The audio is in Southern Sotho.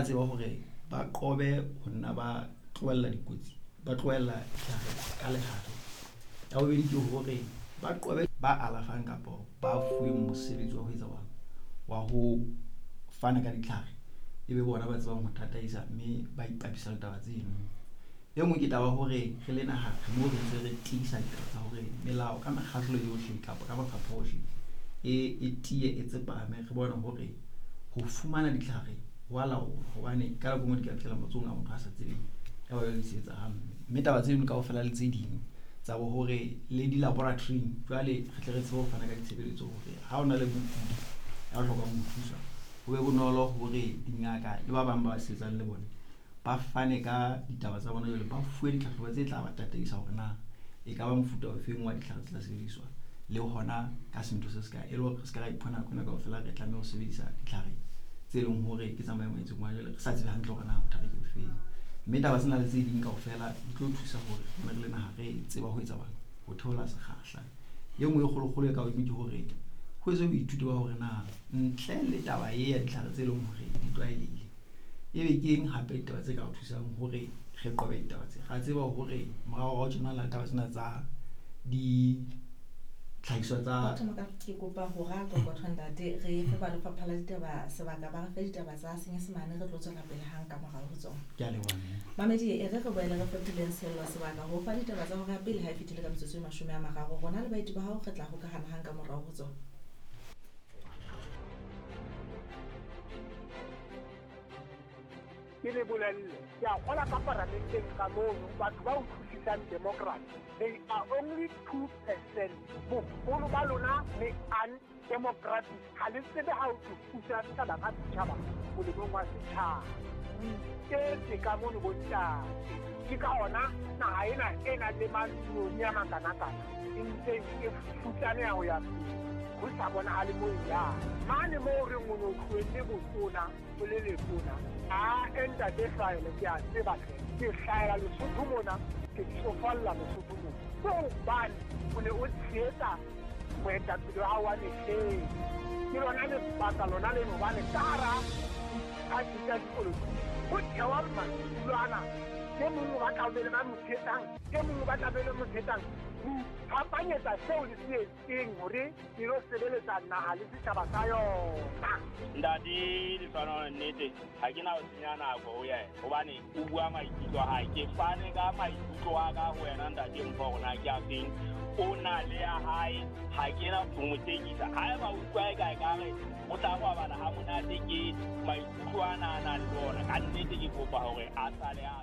Tseba hore ba qobe ho nna ba tlohella dikotsi, ba tlohella ditlhare ka lehare. Ya bobedi ke hore ba qobe ba alafang kapa ba fuweng mosebetsi wa ho etsa wa ho fana ka ditlhare, e be bona ba tsebang ho tataisa mme ba ipapisa le taba tseno. E nngwe ke taba hore re le naha re moo re ntse re tiisa ditaba tsa hore melao ka mekgahlo yohle kapa ka mafapha ohle e tiye, e tsepame. Re bone hore ho fumana ditlhare ho a laolwa, hobane ka nako e nngwe di ka fihlela matsohong a motho a sa tsebeng, ya ba jwale di sebetsa hampe. Mme taba tseno kaofela le tse ding tsa bo hore le di-laboratory-ing jwale re tle re tsebe ho fana ka ditshebeletso hore ha o na le mokudi ya hlokang ho thuswa, ho be bonolo hore dingaka le ba bang ba sebetsang le bone ba fane ka ditaba tsa bona, jwale ba fuwe ditlhahlobo tse tla ba tataisa hore na e ka ba mofuta ofeng wa ditlhare tse tla sebediswa le hona ka sentho se se kae, e le hore re se ka ra iphumana nako ena kaofela re tlameha ho sebedisa ditlhare tse leng hore ke tsa maemo a itseng, hobane jwale re sa tsebe hantle hore na bothata ke bofeng. Mme taba tsena le tse ding kaofela di tlo thusa hore re le naha re tseba ho etsa bana ho theola sekgahla. E nngwe e kgolokgolo e ka hodimo ke hore ho etswe boithuto ba hore na ntle le taba e ya ditlhare tse leng hore di tlwaelehile, ebe ke eng hape ditaba tse ka re thusang hore re qobe ditaba tse. Ra tseba hore moraorao tjena le taba tsena tsa ditlhahiswa tsa Ke kopa ho ra qoqotho ntate, re fe ba lefapha la ditaba sebaka ba re fe ditaba tsa Senyesemane, re tlo tswela pele hang ka morao ho tsona. Ke a leboha mme. Mamedi, e re re boele re fetoleng sello sebaka ho fa ditaba tsa hora ya pele ha e fetile ka metsotso e 30. Rona le baeti ba hao re tla hokahana hang ka morao ho tsona. Ke le bolelle, ke a kgola ka paramenteng ka mono batho ba utlwisisang democracy, they are only 2%. Boholo ba lona le undemocratic, ha le tsebe ha o tlo thusa setjhaba ka setjhaba molemong wa setjhaba. O iketse ka mono bontate, ke ka ona naha ena e nang le mamilione a makanakana e ntseng e futsaneha ho ya pele, ho sa bonahale moo e yang. Mane moo re o no tlohelle botona o le letona, a ntate Hlwaele, ke a tseba hle, ke hlahela Lesotho mona, ke tsofalla Lesotho mona, ke hobane o ne o tshehetsa moetapele wa hao wa mehleng. Ke lona lebaka lona leno, hobane ka hara diphathi tsa dipolotiki ho thewa madulo ana, e mong o batla ho be le ba mo tshehetsang, e mong o batla be le mo tshehetsang, ho iphapanyetsa seo le se etseng hore le lo sebeletsa naha le setjhaba sa yona. Ntate Lehlohonolo, nnete ha ke na ho senya nako ho yena, hobane o bua maikutlo a hae. Ke fane ka maikutlo a ka ho wena ntate Mpho, hore na ke a feng. O na le ya hae, ha ke na ho mo tekisa. Haeba o utlwa e ka ekare o tla robala ha monate ke maikutlo ana a nang le ona, ka nnete ke kopa hore a sale a